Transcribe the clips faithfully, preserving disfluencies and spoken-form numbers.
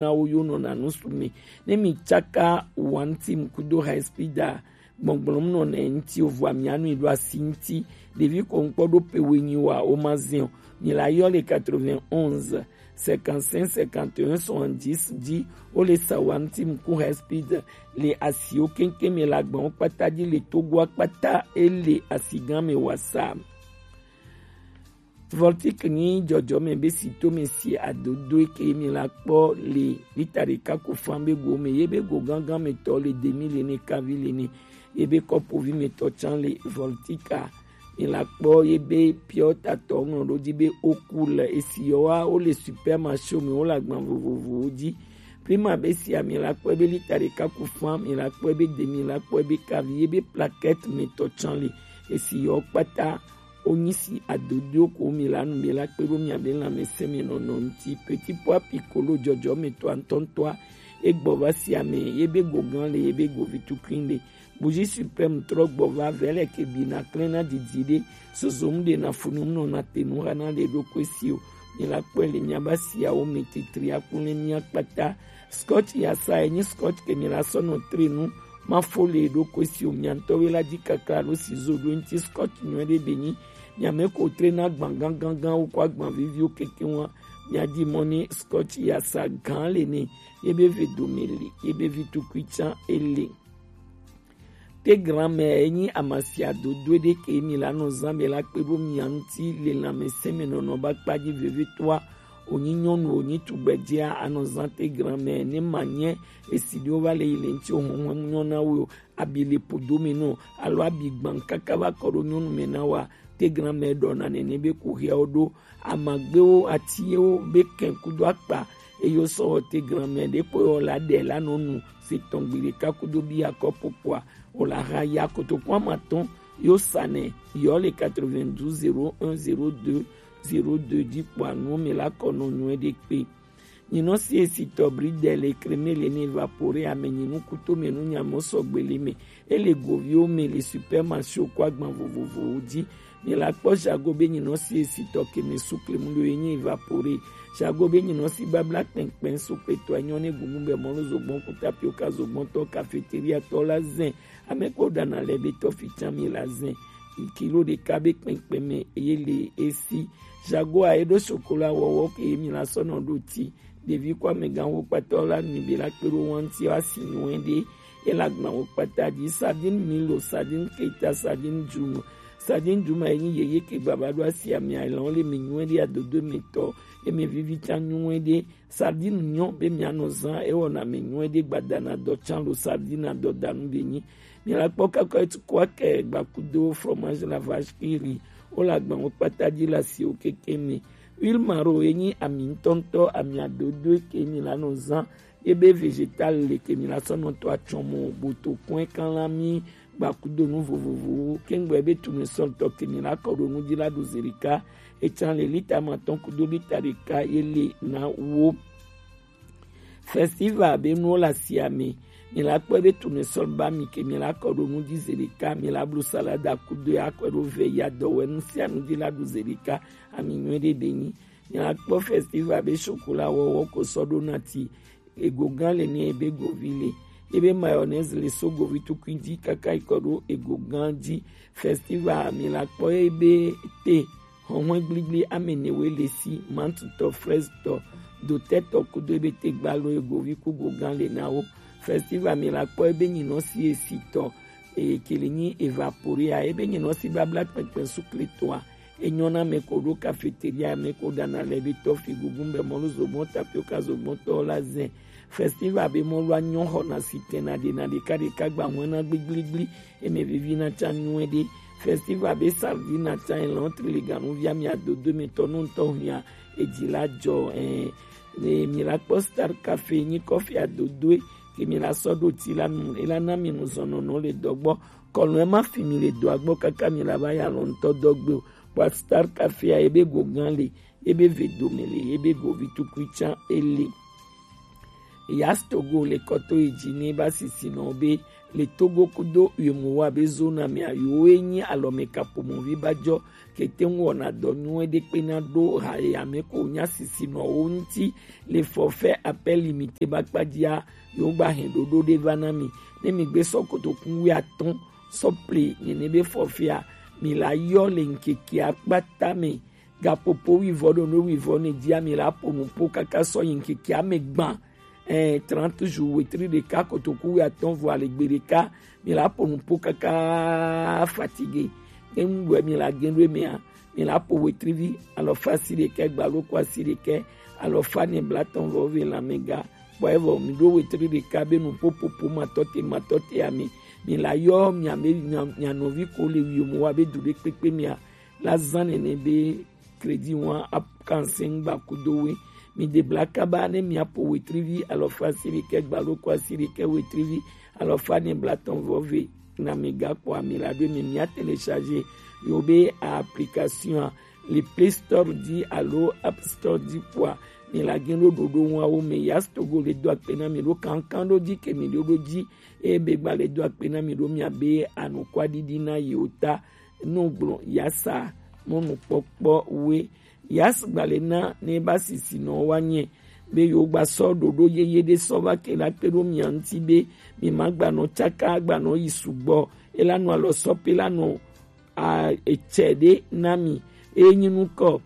na wo yo nɔna nu su me. Ne mi tsaka wantim kudo high speed a, gbɔgblɔm nɔ nɛ ŋuti o, vɔa mianu yi ɖo asi ŋuti. Ɖevi ko ŋkpɔ ɖo pe wenyi wa o ma zɛn o. Mi la yɔ le quatre-vingt-onze, cinquante-cinq, cinquante et un, soixante-dix dzi. Wo le sa wantim ku high speed le asiwo keŋkeŋ me le agbawo kpata dzi le Togoa kpata e le asigã me wa sa. Voltic nyi jɔjɔme be si to me si adodo ke mi la kpɔ le lita ɖeka ko fan be go me, ye be go gangan me tɔ le demi le ne kavi le ne, ye be kɔpovi me tɔ tsan le Voltica. Mi la kpɔ ye be piɔta tɔ ŋlɔ ɖo dzi be oku le esi yɔ wa wo le supermarché me wo le agban vovovowo dzi. Prima be si mi la kpɔ be lita ɖeka ko fan, mi la kpɔ be demi, la kpɔ be kavi, ye be plaquette me tɔ tsan le esi yɔ kpata. Onyi si adodo ko mi la nu be la kpe ɖo mia be lãmesẽ me nɔnɔ ŋuti. Petit pois piccolo jɔjɔ me tɔ ŋutɔŋutɔa, egbɔ va sia me, ye be go gan le, ye be go vi tukui le. Bougie suprême trɔ gbɔ va vɛ le ke bi na klẽ na didi ɖe. Zozo mu ɖe na funu mu nɔ na te nu xa na le ɖo ko si o. Mi la kpɔe le mia ba siawo me titri akun le mia kpata. Scotch ya sa enyi scotch ke mi la sɔ nɔ tre nu. Ma fo le ɖo ko si o, mia ŋutɔ we la di kakla ɖo si zo ɖo ŋuti scotch nyuie ɖe be nyi. Mia me ko tre na gban gangan wo ko agban viviwo keke wa. Mia di mɔ ni scotch ya sa gan le ne. Ye be ve dome le, ye be vi tukui tsan ele. Te grand-mère enyi amasia dodo ɖe ke mi la nɔ zan be la kpe ɖo mia ŋuti le lãmesẽ me nɔnɔ ba kpa dzi vevitɔa. Onyi nyɔnu, onyi tugbedzea, anɔ zan te grand-mère ne ma nye esi ɖewo va le yi le ŋuti o, hɔnhɔn nyɔ na wo o, abi le podo me nɔ, alo abi gban kaka va kɔ ɖo nyɔnu me na wa, te grand-mère ɖɔ na nene be ku hiawo ɖo. Amagbewo, atiwo be kɛn kudo akpa, eye wosɔ wɔ te grand-mère ɖe kpɔ yɔ la ɖe la nɔ nu se tɔn gbi ɖeka kudo bi akɔ popoa, o la ha ya kotoku amatɔn yo sa nɛ yɔ le quatre-vingt-douze zéro un zéro deux zéro deux dzi kpɔa nuwo me la kɔ nɔ nyuie ɖe kpe. Nyinɔ si esitɔ bridel ekreme le ne évapore ame nyinu kuto me nu nyamɔ sɔgbe le me. Ele goviwo me le supermarché ko agban vovovowo dzi. Mi la kpɔ jago be nyinɔ si esitɔ ke me sukle mu ɖo ye nyi évapore. Jago be nyinɔ si babla kpɛnkpɛn sukle tɔ enyɔ ne gungun bɛ mɔlu zogbɔn ku tapioka zogbɔn tɔ cafeteria tɔ la zɛn. Ame ko ɖana le be tɔ fi tsan mi la zɛn. Kilo ɖeka be kpɛnkpɛn me ye le esi. Jago a ye ɖo sokola wɔwɔ ke ye mi la sɔ nɔ ɖo ti. Ɖevi ko amegãwo kpata la mi be la kpe ɖo wanti wa si nyuie ɖe. Ye la gban wo kpata dzi sardine milo, sardine keta, sardine djuma. Sardine djuma ye nyi yeye ke baba ɖo asi ame alɔ le mi nyuie ɖe adodo me tɔ. Ye me vivi tsan nyuie ɖe. Sardine nyɔ be mia nɔ zan ewɔ na mi nyuie ɖe gbadana dɔ tsan lo sardine adɔ danu be nyi. Mi la kpɔ kakɔ etu ko akɛ gbakudo fromage la vache qui rit. Wo la gban wo kpata dzi la si wo keke me. Huile maro ye nyi ami ŋutɔŋutɔ, ami adodo ke mi la nɔ zan. Ye be végétal le ke mi la sɔ nɔ to atsɔmɔ boto kɔn kan la mi gbakudo nu vovovowo. Kengbe be tournesol tɔ ke mi la kɔ ɖo nu dzi la ɖo zerika. Etsan le lita matɔn kudo lita ɖeka ye le na wo. Festival be nuwo la sia me. Mi la kpɔ be tournesol ba mi ke mi la kɔ ɖo nu dzi zerika, mi la blu salada kudo ya kɔ ɖo vɛ ya dɔ wɛ nu sia nu dzi la ɖo zerika, ami nyuie ɖe be nyi. Mi la kpɔ festival be chocolat wɔwɔ ko sɔ ɖo na ti. Ego gan le ni ebe govi le. Ebe mayonnaise le so govi tukui dzi kaka yi kɔ ɖo ego gan dzi. Festival mi la kpɔ ebe te hɔnhɔn gbligble ame ne we le si, mantutɔ, freztɔ, dotɛtɔ kudo ebe te gbalo ego vi ku go gan le na wo. Festival mi la kpɔ ebe nyinɔ si esi tɔ, eye kele nyi evaporea, ebe nyinɔ si babla kpɛkpɛ sukle tɔa, enyɔ na me ko ɖo cafeteria me ko ɖana le be tɔ fi gugun be mɔlu zogbɔn tapioka zogbɔn tɔ la zɛn. Festival be mɔlu anyɔ xɔ na si tɛn na ɖe na ɖeka ɖeka gba hɔn na gbigbligbli. Eme vivi na tsa nyuie ɖe. Festival be sardine na tsa elɔn triliganu via mi adodo me tɔ nu ŋutɔ hia edzi la dzɔ ɛ. Ne mi la kpɔ Star Cafe nyi kɔfi adodoe ke mi la sɔ ɖo ti la nu, ela na mi nu zɔnɔnɔ le dɔgbɔ. Kɔlɔn ma fi mi le dɔa gbɔ kaka mi la va ya lɔ ŋutɔ dɔgbe o. Kpɔ Star Cafe a ebe go gan le, ebe ve dome le, ebe go vi tukui tsa ele. Yas Togo le kɔto yi ji ne ba sisi nɔ be le Togo kudo Uemowa be zona mea yewo ye nyi alɔmeka pomovi ba jɔ kete ŋu wɔna dɔ nyuie ɖe kpe na ɖo ha ye ame ko nya sisi nɔ wo ŋuti le forfait appel limité ba kpajia yewo gba hɛn ɖoɖo ɖe va na mi. Ne mi gbe sɔ kotokun wi atɔn sɔ ple nyene be forfait a, mi la yɔ le ŋkeke akpata me gapopo wivɔ ɖo no wivɔ ne jia mi la po nupo kaka sɔ yi ŋkeke ame gban. Eh, trente jours wetri ɖeka kotoku wi atɔn vɔ ale gbe ɖeka mi la po nupo kaka fatigué. Ke ŋu ɖoe mi la gen ɖoe mea mi la po wetrivi alɔfa si ɖekɛ gbalo ko asi ɖekɛ alɔfa ne blatɔn vɔ ve lamɛga. Kpɔ evɔ mi ɖo wetri ɖeka be nupo popo matɔte matɔte ame mi la yɔ mia be mia nɔvi ko le wi mo wa be du ɖe kpekpe mia la zan nene be crédit wan ap kanse ŋgba kudo we. Mi de bla kaba ne mia po wetrivi alɔfa si ɖekɛ gbalo ko asi ɖekɛ wetrivi alɔfa ne blatɔn vɔ ve na mi gakpɔ ami la ɖo mi mia télécharger yo be application a le Play Store di alo App Store di kpɔa mi la gen ɖo ɖoɖo ŋua wo me. Yas Togo le do akpe na mi ɖo kankan ɖo di ke mi ɖo ɖo di eye be gba le do akpe na mi ɖo mia be anukwa ɖiɖi na yi o ta no gblɔ yasa mɔnukpɔkpɔ we. Yas gba le na ne ba sisi nɔ wa nye be yo gba sɔ ɖoɖo yeye ɖe sɔ va ke la kpe ɖo mia ŋuti be mi ma gba nɔ tsaka gba nɔ yi sugbɔ ela nɔ alɔ sɔ pe la nɔ a etsɛ ɖe na mi eye nyi nukɔ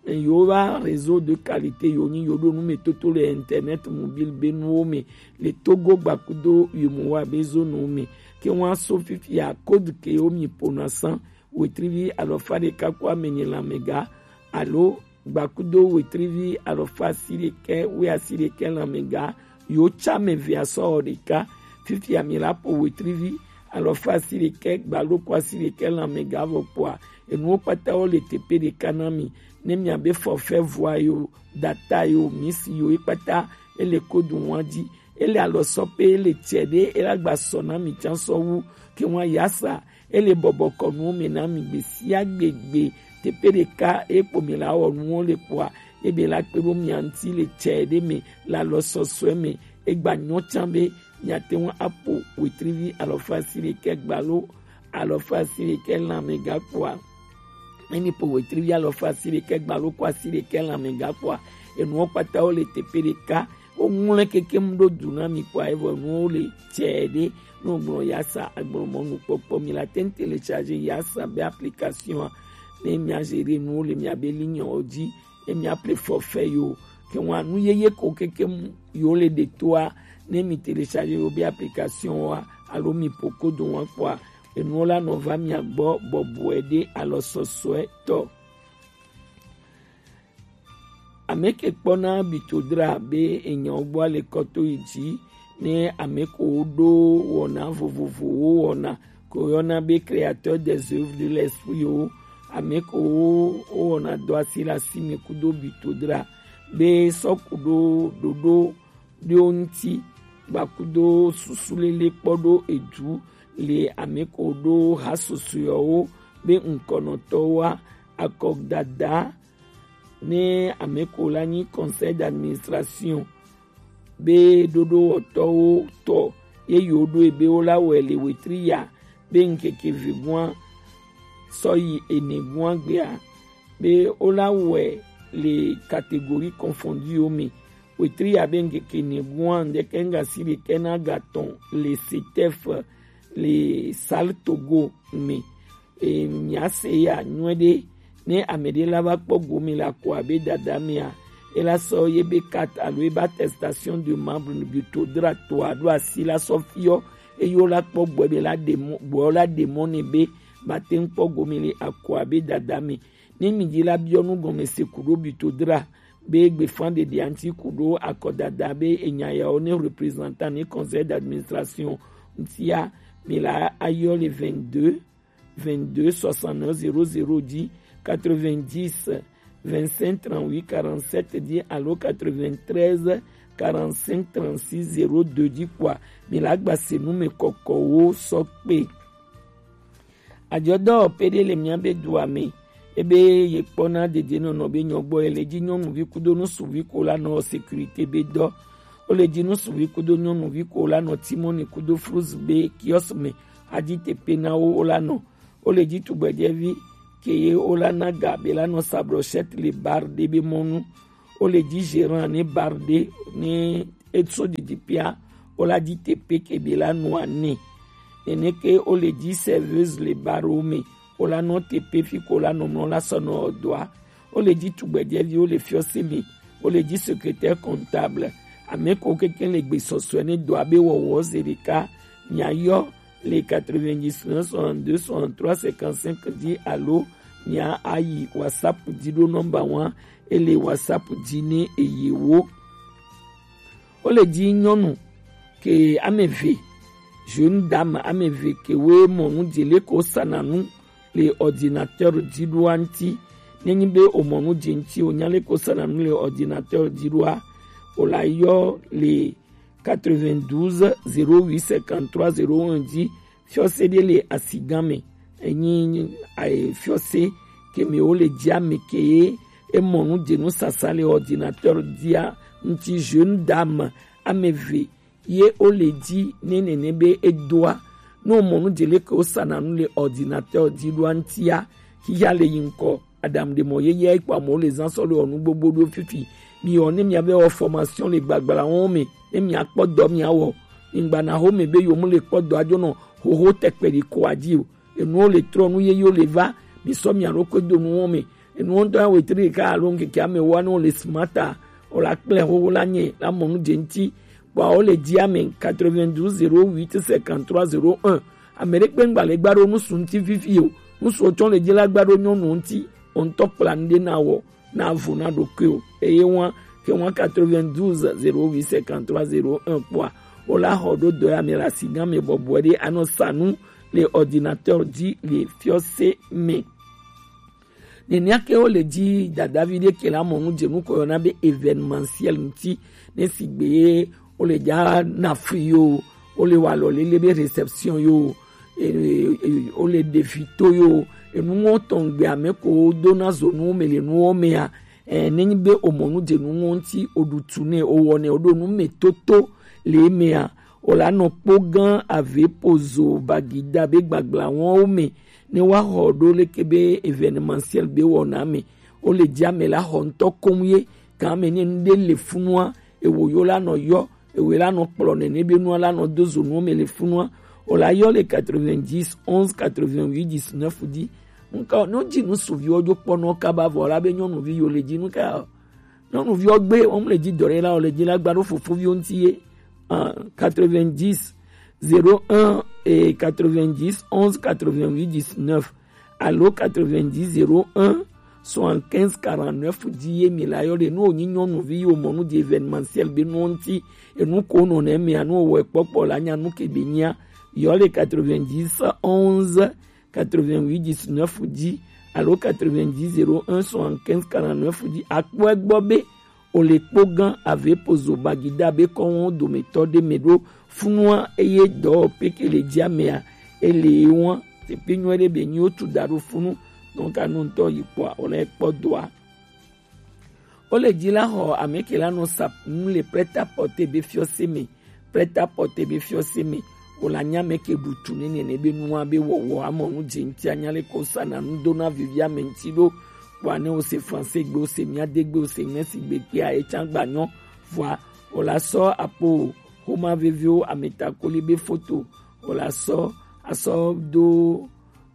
yo va réseau de qualité yo nyi yo ɖo nu me toto le internet mobile be nuwo me le Togo gbakudo yo mo wa be zo nu me ke wan so fifia code ke yo mi pona san wetrivi alɔfa ɖeka ko ame nyi lamɛga alo gbakudo wetrivi alɔfa asi ɖekɛ we asi ɖekɛ lamɛga yo tsa me via sɔ ɖeka fifia mi la po wetrivi alɔfa asi ɖekɛ gbalo ko asi ɖekɛ lamɛga vɔ kpɔa enuwo kpata wo le teƒe ɖeka na mi ne mia be forfait voix yo data yo misi yo ekpata ele kodu wan di ele alɔ sɔ pe ele tsɛ ɖe ela gba sɔ na mi tsa sɔ wu ke wan yasa ele bɔbɔ kɔ nuwo me na mi gbe sia gbegbe teƒe ɖeka ekpo mi la wɔ nuwo le kpɔa ebe la kpe ɖo mia ŋuti le tsɛ ɖe me le alɔ sɔsɔe me egba nyɔ tsa be miate ŋu apo wetrivi alɔfa asi ɖekɛ gbalo alɔfa asi ɖekɛ lamɛga kpɔa ne mi po wetrivi alɔfa asi ɖekɛ gbalo ko asi ɖekɛ lamɛga kpɔa enuwo kpata wo le teƒe ɖeka wo ŋlɔe keke mu ɖo du na mi kpɔa evɔ enuwo le tsɛ ɖe ne wo gblɔ yasa agblɔ mɔnu kpɔkpɔ mi la te ŋu télécharger yasa be application ne mia gérer nuwo le mia be ligne wo dzi ne mia ple forfait yo ke wan nu yeye ko keke mu yo le ɖe toa ne mi télécharger yo be application wa alo mi po kodo wan kpɔa enuwo la nɔ va mia gbɔ bɔbɔe ɖe alɔ sɔsɔe tɔ. Ame ke kpɔna bitodra be enyawo gbɔ le kɔto yi dzi ne ame ko ɖo wɔna vovovowo wɔna ko yɔna be créateur des œuvres de l'esprit wo ame ko wo wɔna dɔ asi le asi me kudo bitodra be sɔ ku ɖo ɖoɖo ɖewo ŋuti gbakudo susu lele kpɔ ɖo edu le ame ko ɖo ha susɔewo be ŋkɔnɔtɔwoa akɔdada ne ame ko la nyi conseil d'administration be ɖoɖowɔtɔwo tɔ ye yewo ɖo ebe wo la wɔe le wetri ya be ŋkeke vegua sɔ yi ene gua gbea be wo la wɔe le catégorie confondue wo me wetri ya be ŋkeke ene gua ŋdeke ŋgasi ɖeke na gatɔn le setef le sal togo me. E, mia se ya nyuie ɖe ne ame ɖe la va kpɔ gome le akɔ abe dada mea e la sɔ ye be carte alo ebe attestation de membre ne bi to dra to aɖo asi la sɔ fiɔ eye wo la kpɔ gbɔ be la ɖe mɔ gbɔ la ɖe mɔ ne be ba te ŋu kpɔ gome le akɔ abe dada me. Ne mi dzi la biɔ nu gɔme se ku ɖo bi to dra be gbefa ɖeɖea ŋuti ku ɖo akɔdada be enya yawo ne représentant ne conseil d'administration ŋutia mi la ayɔ le vingt-deux vingt-deux soixante-neuf zéro zéro dix quatre-vingt-dix vingt-cinq trente-huit quarante-sept dix alo quatre-vingt-treize quarante-cinq trente-six zéro deux dix kpɔa mi la gba se nu me kɔkɔwo sɔ kpe. Adzɔdɔwɔƒe ɖe le mía be dua me. Ebe ye kpɔna dedienɔnɔ be nyɔgbɔ ye le dzi nyɔnuvi kudo nusuvi ko la nɔ sécurité be dɔ. Wo le ji nu suvi kudo nyɔnuvi ko wo la nɔ Timoni kudo Fruze be kiɔsi me a ji tepe na wo wo la nɔ. Wo le ji tugbɛjɛvi ke ye wo la na ga be la nɔ sa brochette le bar ɖe be mɔnu. Wo le ji gérant ne bar ɖe ne e so didi pia wo la ji tepe ke be la nɔ ane. Nene ke wo le ji serveuse le bar wo me wo la nɔ tepe fi ko wo la nɔ mlɔ la sɔ nɔ ɔ dɔa. Wo le ji tugbɛjɛvi wo le fiɔse me. Wo le ji secrétaire comptable. Ame ko keke le gbe sɔsɔe ne dɔa be wɔwɔ ze ɖeka. Mia yɔ le quatre-vingt-dix-neuf soixante-deux soixante-trois cinquante-cinq ji alo mia ayi WhatsApp ji ɖo nɔmba wan e le WhatsApp ji ne eye wo. Wo le ji nyɔnu ke ame eve, jeune dame ame eve ke wo mɔ nu je le ko sana nu le ordinateur ji ɖoa ŋuti. Ne nyi be o mɔ nu je ŋuti o nya le ko sana nu le ordinateur ji ɖoa, o la yɔ le quatre-vingt-douze zéro huit cinquante-trois zéro un ji. Fiɔse ɖe le asigan me. Enyi aye fiɔse ke me wo le ji ame ke ye e mɔ nu je nu sasa le ordinateur jia ŋuti. Jeune dame ame eve ye wo le ji ne nene be e doa. Ne o mɔ nu je le ke wo sana nu le ordinateur ji ɖoa ŋutia, xixia le yi ŋkɔ. Adamu ɖe mɔ yeye kpɔ amewo le zan sɔ le wɔ nu gbogbo ɖo fifi. Mi wɔ ne mia be wɔ formation le gbagbla wɔn me ne mia kpɔ dɔ mia wɔ. Mi gba na ho me be yo mu le kpɔ dɔ ajo nɔ hoho tɛkpɛ ɖi ko aji o. Enuwo le trɔ nu yeyewo le va. Mi sɔ mia ɖo ko do nu wɔn me. Enuwo ŋutɔ ya wetre ɖeka alo ŋkeke ame wa ne wo le smart a, o la kple hoho la nye la mɔ nu dze ŋuti. Kpɔ wo le ji ame quatre-vingt-douze zéro huit cinquante-trois zéro un. Ame ɖe kpe ŋgba le gba ɖo nusu ŋuti fifi o. Nusu tsɔ le ji la gba ɖo nyɔnu ŋuti. O ŋutɔ kpla nu ɖe na wɔ na vo na ɖokui o. Eye wan ke wan quatre-vingt-douze zéro huit cinquante-trois zéro un kpɔa, o la xɔ ɖo dɔ ya me le asigan me bɔbɔe ɖe anɔ sa nu le ordinateur ji le fiɔse me. Nenea ke wo le ji dadavi ɖe ke la mɔ nu je nu ko yɔna be événementiel ŋuti ne sigbe ye wo le ja na fri yo, wo le wa lɔ lele be réception yo, e, e, e, wo le ɖe vi to yo, enu ŋɔ tɔn gbe ame ko do na zo nu me le nu wo me ya. E, ne nyi be o mɔ nu je nu ŋɔ ŋuti o ɖu tu ne o wɔ ne o ɖo nu me toto le me ya. O la nɔ kpo gan ave pozo bagida be gbagbla wɔn wo me ne wa xɔ ɖo leke be événementiel be wɔna me. O le ji ame la xɔ ŋutɔ koŋ ye gan ame ne nu ɖe le funua ewo yo la nɔ yɔ ewo la nɔ kplɔ nene be nua la nɔ do zo nuwo me le funua. O la yɔ le quatre-vingt-dix onze quatre-vingt-huit dix-neuf ji. Nka no ji nu suviwo jo kpɔ nɔ kaba vɔ la be nyɔnuvi yo le ji nu ka. Nyɔnuviwo gbe wɔm le ji dɔ ɖe la o le ji la gba ɖo fofoviwo ŋuti ye. Quatre-vingt-dix zéro un et quatre-vingt-dix onze quatre-vingt-huit dix-neuf alo quatre-vingt-dix zéro un soixante-quinze quarante-neuf ji ye mi la yɔ ɖe nu wonyi nyɔnuvi yi womɔ nu di événementiel be nuwo ŋuti enu ko nɔ ne mea nu wowɔe kpɔkpɔ la nya nu ke be nyia yɔ le quatre-vingt-dix onze quatre-vingt-huit dix-neuf ji alo quatre-vingt-dix zéro un soixante-quinze quarante-neuf ji akpɔe gbɔ be o le kpo gan ave pozo bagida be kɔnwo dometɔ ɖe me ɖo funua eye dɔ peke le jia mea ele wan tepe nyuie ɖe be nyi wotu da ɖo funu nɔ ka nu ŋutɔ yi kpɔa o le kpɔ doa. Wo le ji la xɔ ame ke la nɔ sa nu le prêt-à-porter be fiɔse me. Prêt-à-porter be fiɔse me. Wo la nya ame ke ɖu tu ne nene be nua be wɔwɔ amɔ nu dze ŋuti anya le ko sa na nu do na vivi ame ŋuti ɖo. Kpɔa ne wo se français gbe wo se mia de gbe wo se ŋmɛ si gbe kpea etsa gba nyɔ. Vɔa wo la sɔ apo xoma veviwo ame takoli be foto wo la sɔ asɔ do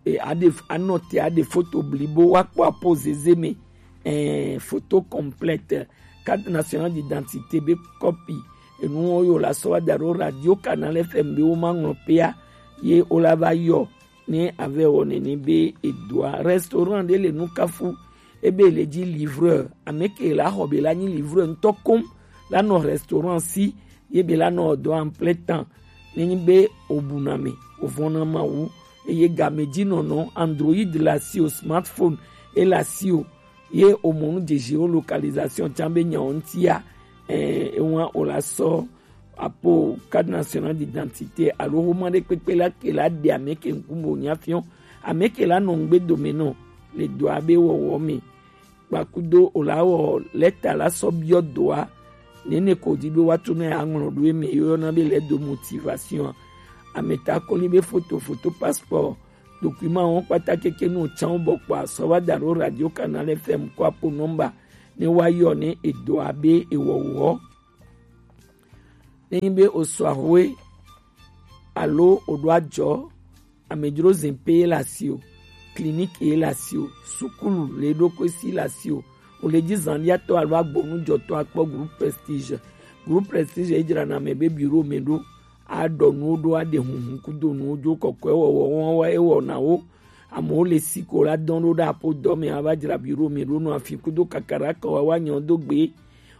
e aɖe anɔte aɖe foto blibo woakpɔ apo zeze me. Ɛɛ foto complète carte nationale d'identité be kɔpi enuwo yo la sɔ wa da ɖo radio canal fm be wo ma ŋlɔ pea ye wo la va yɔ ne ave wɔ nene be edoa restaurant ɖe le nukafu ebe le dzi livreur ame ke la xɔ be la nyi livreur ŋutɔ kom la nɔ restaurant si ye be la nɔ dɔ en plein temps. Nenyi be o buna me o vɔna mawu eye game dzi nɔnɔ android la si o smartphone e la si o ye o mɔ nu dze géolocalisation tsa be nyawo ŋutia. Ɛɛ ewa o la sɔ apo carte nationale d'identité alo xoma ɖe kpekpe la ke la ɖe ame ke ŋkume o nya fiɔ ame ke la nɔ ŋgbe dome nɔ le dɔa be wɔwɔ me. Kpakudo o la wɔ lɛta la sɔ biɔ dɔa Nene ko di be wa tu na ya ŋlɔ ɖo eme yɔ na be lettre de motivation. Ameta kɔli be foto, foto passeport. Document wɔn kpata keke nu can bɔ kpa sɔ wa da ɖo Radio Canal F M ko apo nɔmba ne wa yɔ ne edo abe ewɔwɔ. Ne nyi be o sɔ ahwe alo o ɖo ajɔ, amedzro zin pe ye le asi o, clinique ye le asi o, sukulu le ɖo ko si le asi o, o le dzi zandiatɔ alo agbonujɔtɔ akpɔ Groupe Prestige. Groupe Prestige ye dzra na me be bureau me ɖo, a ɖɔ nuwo ɖo, a ɖe hunhun kudo nuwo dzo kɔkɔe wɔwɔ wɔn wa e wɔna wo. Amewo le si ko la dɔn ɖo ɖe apo dɔ me ava dzra bureau me ɖo nɔ afi kudo kakara kɔ wa wa nyɔ do gbe.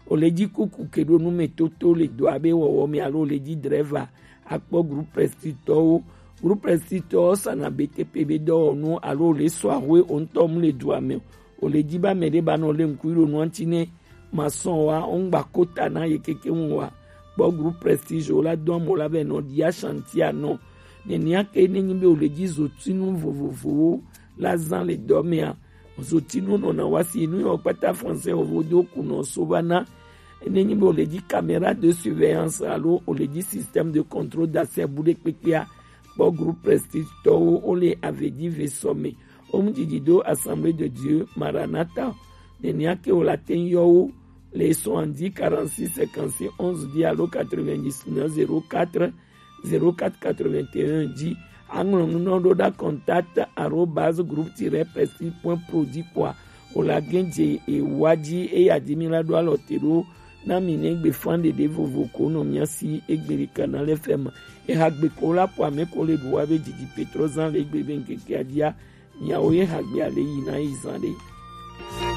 O le dzi kuku ke ɖo nu me toto le do abe wɔwɔ me alo o le dzi drɛva akpɔ Groupe Prestige tɔwo. Groupe Prestige tɔwo sana B T P be dɔwɔnu alo o le sɔ ahwe o ŋutɔ mu le dua me o. O le dzi ba me ɖe ba nɔ le ŋku ɖo nua ŋuti ne ma sɔn wa o ŋgba kota na ye keke ŋu wa. Kpɔ Groupe Prestige o la dɔn mo la be nɔ dia chantier nɔ. Nenia ke ne nyi be o le dzi zotinu vovovowo la zan le dɔ mea. Zotinu nɔna wa si nu yɔ kpata français o vo do kunɔ so va na. Ne nyi be o le dzi caméra de surveillance alo o le dzi système de contrôle d'accès bu ɖe kpekpea, kpɔ Groupe Prestige tɔwo o le avedzi ve sɔ me. O mu didi do Assemblée de Dieu Maranatha. Nenia ke o la te yɔ wo le soixante-dix quarante-six cinquante-six onze dix alo quatre-vingt-dix-neuf zéro quatre zéro quatre quatre-vingt-un dzi. Aŋlɔ nu nɔ ɖo ɖa contact arobase groupe tiret prestige point pro dzi kpɔa o la gɛn dze ewa dzi eya dzi mi la ɖo alɔ te ɖo na mi ne gbe fan ɖeɖe vovo ko nɔ mia si egbe ɖe Canal F M. Eha gbe ko la po ame ko le ɖu wa be didi petro zan le egbe be ŋkeke adia miawo ye ha gbe ale yi na yi zan ɖe.